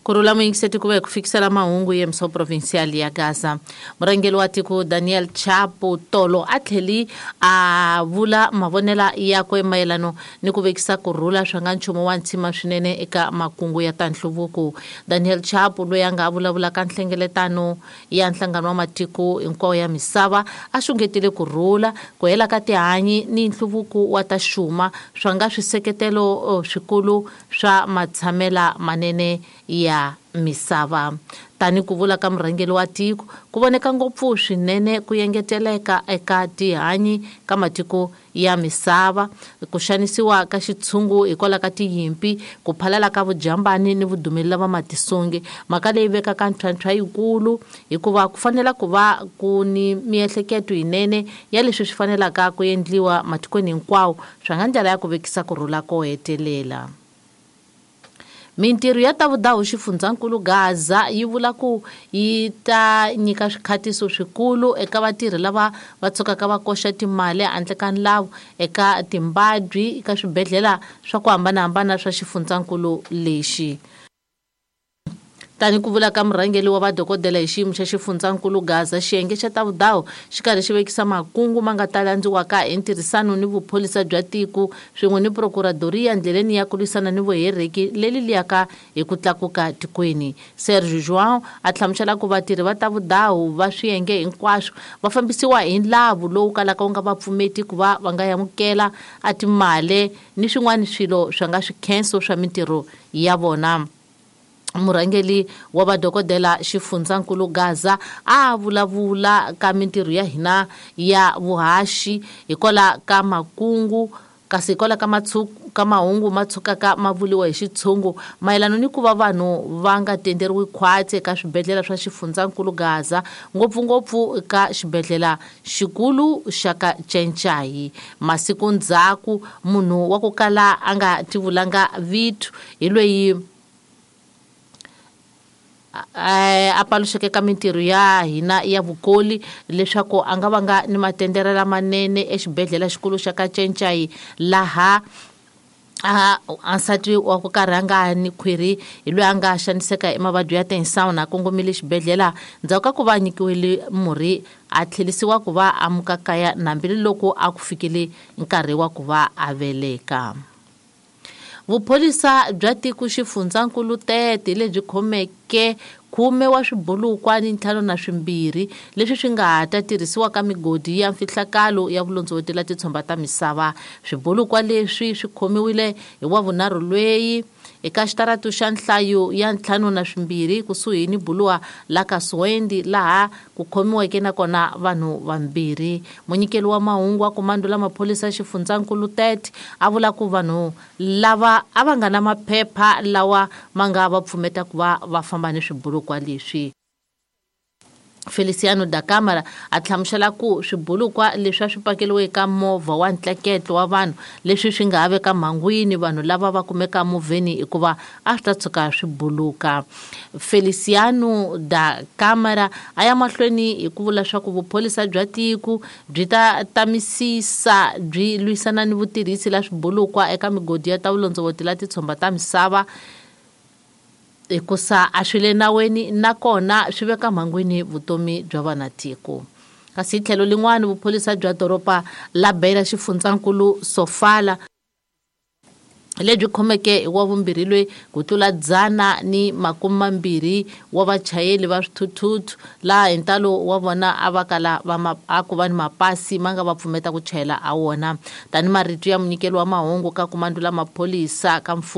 Ku rhula muyingiseti ku va hi ku fikisela mahungu yemso provincial ya Gaza. Murhangeri wa tiko Daniel Chapo tolo a tlheli a vula mavonela yakwe mayelano ni ku vekisa ku rhula swa nga nchumu wa ntsima swinene eka makungu ya ta nhluvuko. Daniel Chapo loyi a nga vulavula ka nhlengeletano ya nhlangano wa matiko hinkwawo ya misava a xungetile ku rhula, ku hela ka tihanyi ni nhluvuko wa ta xuma swa nga swiseketelo swikulu swa matshamela manene ya misava. Tani ku vula ka murhangeri wa tiko ku voneka ngopfu swinene ku engeteleka eka tihanyi ka matiko ya misava, ku xanisiwa ka xitshungu hikwalaho ka tinyimpi, ku phalala ka vujambani ni vudumeli va matisongi. Mhaka leyi vekaka ntlhontlho yikulu hikuva ku fanela ku va ku ni miehleketo yinene ya leswi swi fanelaka ku endliwa matikweni hinkwawo swa nga ndlela ya ku vekisa ku rhula ko hetelela. Mintirho ya ta vudahu xifundzankulu Gaza yi vula ku yi ta nyika swikhatiso swikulu eka vatirhi lava va tshukaka va koxa timali handle ka nlawu eka timbabyi eka swibedhlele swa ku hambanahambana swa xifundzankulu lexi. Tani ku vula ka murhangeri wa vadokodela hi xiyimo xa xifundzankulu Gaza, xiyenge xa ta vudahu xi karhi xi vekisa makungu ma nga ta landziwaka hi ntirhisano ni vuphorisa bya tiko swin'we ni prokuradoriya ndleleni ya ku lwisana ni vuhereki leri liyaka hi ku tlakuka tikweni. Sergio João a hlamusela ku vatirhi va ta vudahu va swiyenge hinkwaswo va fambisiwa hi nlavu lowu kalaka wu nga va pfumeti ku va va nga amukela a timali ni swin'wana swilo swa nga swikhenso swa mintirho ya vona. Murhangeri wa vadokodela xifundzankulu Gaza a vulavula ka mintirho ya hina ya vuhaxi hikwalaho ka makungu kasi hikwalaho ka mahungu ma tshukaka ma vuriwa hi xitshungu mayelana ni ku va vanhu va nga tenderiwi khwatsi eka swibedhlele swa xifundzankulu Gaza, ngopfungopfu eka xibedhlele xikulu xa ka Cencayi. Masiku ndzhaku munhu wa ku kala a nga tivulanga vito hi loyi a paluxeke ka mintirho ya hina ya vukoli leswaku a nga vanga ni matendere lamanene exibedhlele xikulu xa ka Cencayi laha a nsati wa ku karhi a nga ni khwiri hi loyi a nga xaniseka hi mavabyi ya tinsawuna a kongomile xibedhlele ndzhaku ka ku va a nyikiwile murhi a tlherisiwa ku va a muka kaya hambiloko a ku fikile nkarhi wa ku va a veleka. Vupholisa bya tiko xifundzankulu Tete lebyi khomeke 10 wa swibulukwa ni 52 leswi swi nga ha ta tirhisiwa ka migodi ya mfihlakalo ya vulondzovoti la titshomba ta misava. Swibulukwa leswi swi khomiwile hi wavunharhu lweyi eka xitaratu xa nhlayo ya 52 kusuhi ni buluwa la ka Suwendi laha ku khomiweke nakona vanhu vambirhi. Munyikeli wa mahungu wa komando la maphorisa xifundzankulu Tete a vula ku vanhu lava a va nga na maphepha lawa ma nga va pfumeta ku va va famba ni swibulukwa leswi. Feliciano da Câmara a hlamusela ku swibulukwa leswi a swi pakeriwe eka movha wa ntleketlo wa vanhu leswi swi nga ha veka mhangwini vanhu lava va kumeka movheni hikuva a swi ta tshuka swi buluka. Feliciano da Câmara a ya mahlweni hi ku vula swa ku vupholisa bya tiko byi ta tamisisa byi lwisana ni vutirhisi la swibulukwa eka migodi ya ta vulondzovoti la titshomba ta misava hikusa a swi le naweni nakona swi veka mhangwini vutomi bya vanatiko. Kasi hi tlhelo lin'wana vupholisa bya doroba la Beira xifundzankulu Sofala lebyi khomeke hi wa vumbirhi loyi ku tlula 120 wa vachayeri va swithuthuthu laha hi ntalo wa vona a va kala va a ku va ni mapasi ma nga va pfumeta ku chayela a wona. Tani marito ya munyikeli wa mahungu ka komando la maphorisa ka mfumo